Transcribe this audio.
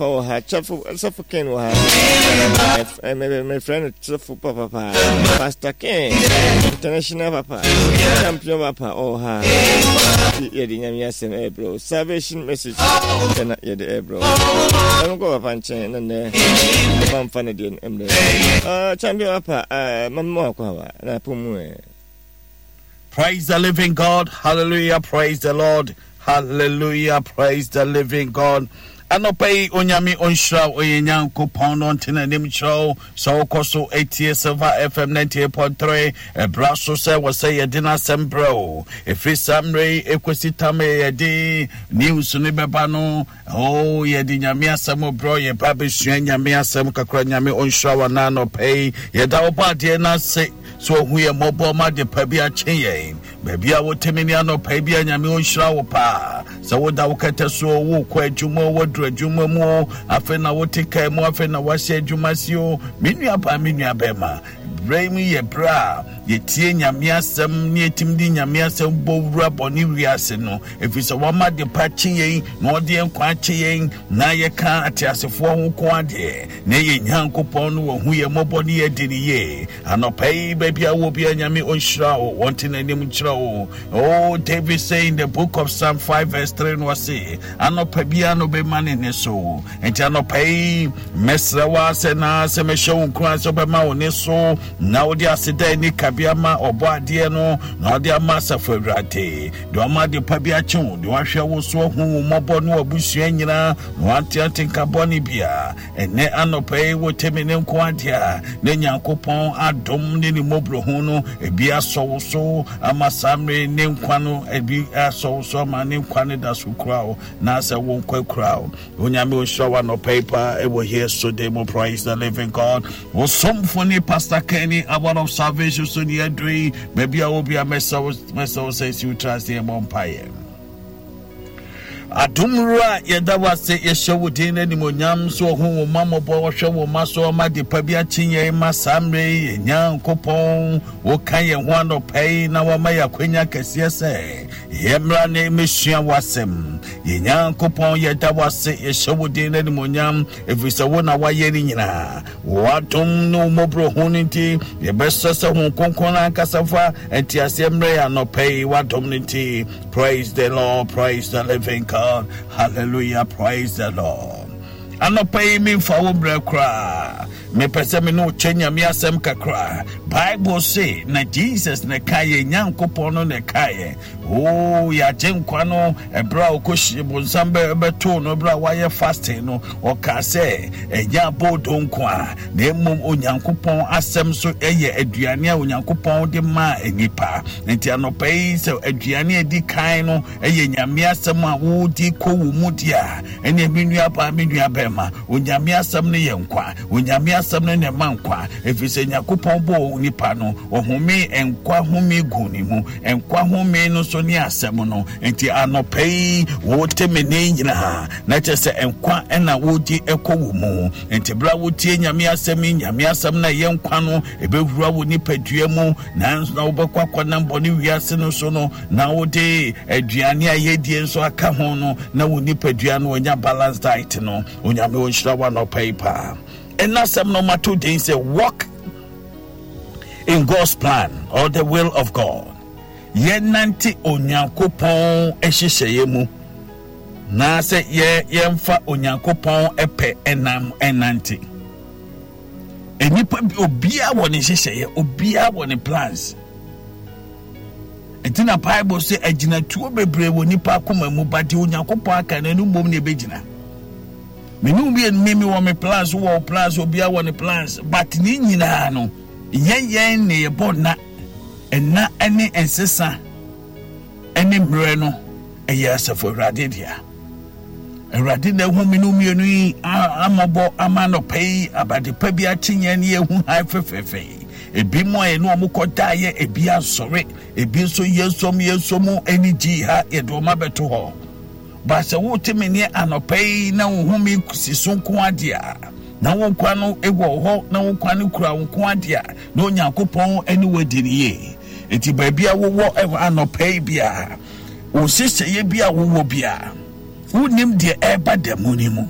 papa wɔ ha, Kyɛfo, Sɔfo Ken wɔ ha. Mefrɛ no Sɔfo papa paa. Pastor Ken, international papa, champion papa ɔwɔ ha. Yɛde Nyame asɛm ɛrebrɛ wo. Salvation message ɛna yɛde ɛrebrɛ wo. Ɛmekɔ papa nkyɛn na nnɛ papa mfa ne deɛ no mmerɛ. Champion papa, mama wakɔ awa na apɔ mu ɛ. Praise the living God. Hallelujah. Praise the Lord. Hallelujah. Praise the living God. Anɔpa yi Onyame ɔnhyira wo ɔyɛ Nyankopɔn no ɔnte n'anim kyerɛ wo sɛ wokɔ so etie Silver FM 98.3 ɛbra so sɛ wɔ sɛ yɛde n'asɛm brɛ wo ɛfiri saa mmerɛ yi ɛkɔsi tam yɛde news no bɛba no Oh, yɛde Nyame asɛm brɛ yɛba bɛsua Nyame asɛm kakra. Nyame ɔnhyira wo anaa anɔpa yi. Yɛda wo bɔ adeɛ no ase sɛ ɔhu yɛ mmɔbɔ ma ade pa bi akye yɛn. Baabi a wote me ne anɔpa yi bi a Nyame ɔnhyira wo paa. Sɛ woda wo kɛtɛ so, wokɔ adwuma o, woaduru adwuma mu o, afei na wote kaa mu, afei na woahyɛ adwuma si o. Me nua baa, me nua bɛrima, berɛ yi mu yɛ berɛ a yɛtie Nyame asɛm ne yɛtumi de Nyame asɛm bɔ wura bɔne wiase no. Ɛfiri sɛ wama adepa akye yɛn, na ɔde yɛn nkwa akye yɛn, na yɛka ateasefoɔ ho nko adeɛ, na yɛn Nyankopɔn no wahu yɛn mmɔbɔ ne yɛadi no yie. Anɔpa yi, baabi a wɔ biara, Nyame ɔnhyira wo, ɔnte n'anim nkyerɛ wo. Oh, David say in the book of Psalm 5 verse 3 no ɔse, anɔpa biara no bɛma ne nne so. Nti anɔpa yi, mɛsrɛ wo sɛ na sɛ mɛhyɛ wo nkuran sɛ wobɛma wo ne so na wode aseda ani kabea ma ɔbɔ adeɛ no na wode ama asafo Awurade. Deɛ ɔma ade pa bi akye wo, deɛ wahwɛ wo so ahu wo mmɔbɔ ne w'abusua nyinaa, na wante atenka bɔne biara. Ɛnnɛ anɔpa yi, wote me ne nko adeɛ a, na Nyankopɔn adom ne ne mmɔborɔhu no, ebi asɔ wo so ama saa mmere ne nkwa no, ebi asɔ wo so ama ne nkwa no da so kura wo, na sɛ wo nkwa kura wo. Onyame ɔnhyira wo anɔpa yi paa ɛwɔ here so day mo. Praise the living God. Wo somfo ne Pastor Kenny Hour of Salvation so ne aduru yi. Baabi a wɔ bia mɛsɛ wo mɛsɛ wo sɛ si wo tiri ase yɛbɔ mpaeɛ. Adom wura yɛda wo ase yɛhyɛ wo din no animonyam so ɔhu wo ma mmɔbɔ ɔhwɛ wo ma so ɔma de pa bi akye yɛn ma saa mmerɛ yi yɛ Nyankopɔn woka yɛn ho anɔpa yi na wama yɛ akwanya kɛseɛ sɛ Yɛmmra na yɛmmɛsua w'asɛm. Yɛn Nyankopɔn, yɛda wo ase, yɛhyɛ wo din no animuonyam, ɛfiri sɛ wo na woayɛ ne nyinaa. W'adom ne wo mmɔborɔhunu no nti, yɛbɛsrɛ sɛ Honhom Kronkron no ankasa mfa nteaseɛ mmrɛ yɛn anɔpa yi, w'adom no nti. Praise the Lord, praise the living God, hallelujah, praise the Lord. Anɔpa yi memfa wo mmerɛ koraa. Mepɛ sɛ me ne wo kyɛ Nyame asɛm kakra. Bible se na Jesus na ɛkaeɛ, Nyankopɔn no na ɛkaeɛ. Oo, yɛagye nkwa no, ɛberɛ a ɔkɔhyie bonsam bɛtoo no, ɛberɛ a wayɛ fasting no, ɔkaa sɛ, ɛnyɛ aboodo nko a, na mmom Onyankopɔn asɛm so yɛ aduane a Onyankopɔn de maa nnipa. Nti anɔpa yi sɛ aduane a ɛdi kan no ɛyɛ Nyame asɛm a wodi kɔ wo mu deɛ a, ɛneɛ me nuabaa, me nuabɛrima, Onyame asɛm no yɛ nkwa. Onyame asɛm no na ɛma nkwa. Ɛfiri sɛ Nyankopɔn bɔɔ onipa no, ɔhomee nkwa home guu ne mu. Nkwa home no nso ne asɛm no. Nti anɔpa yi, wote me nne nyinaa, na kyerɛ sɛ nkwa na wodi kɔ wo mu. Nti berɛ a wotie Nyame asɛm yi, Nyame asɛm no a ɛyɛ nkwa no, ɛbɛwura wo nipadua mu, nanso na wobɛkɔ akɔnam bɔne wiase no so no, na wode aduane a yɛdie nso aka ho no, na wo nipadua no anya balance diet no. Onyame ɔnhyira wo anɔpa yi paa. Ɛna asɛm no mato din sɛ walk in God's plan or the will of God. Yɛnante Onyankopɔn nhyehyɛeɛ mu na sɛ yɛ yɛmfa Onyankopɔn pɛ ɛnam ɛnante. Nnipa bi obiara wɔ ne nhyehyɛeɛ, obiara wɔ ne plans. Nti na Bible sɛ agyinatuo bebree wɔ nipa akoma mu, ba deɛ Onyankopɔn aka no ɛno mmom na ɛbɛgyina. Me ne mmienu me me wɔ me plans wɔ plans obiara wɔ ne plans, but ne nyinaa no yɛn yɛn na yɛbɔ nna nna ne nsesa ne mmerɛ no ɛyɛ asafo Awurade dea. Awurade na ehu me no mmienu yi amɔbɔ ama anɔpa yi abade pa bi akye yɛn ne yɛhu han fɛfɛɛfɛ yi. Ebi mu a yɛne wɔn kɔ daeɛ, ebi asɔre, ebi nso yɛnsom yɛnsom mu ani gye ha yɛde wɔn abɛto hɔ. Ba sɛ wote me ne anɔpa yi na wo home si so nko adeɛ a, na wo nkwa no wɔ hɔ na wo nkwa no kura wo nko adeɛ a, na Onyankopɔn ne wo adi no yie. Enti baabi a wowɔ anɔpa yi biara, wo nhyehyɛeɛ bi a wowɔ biara, wonnim deɛ ɛreba da mu no mu.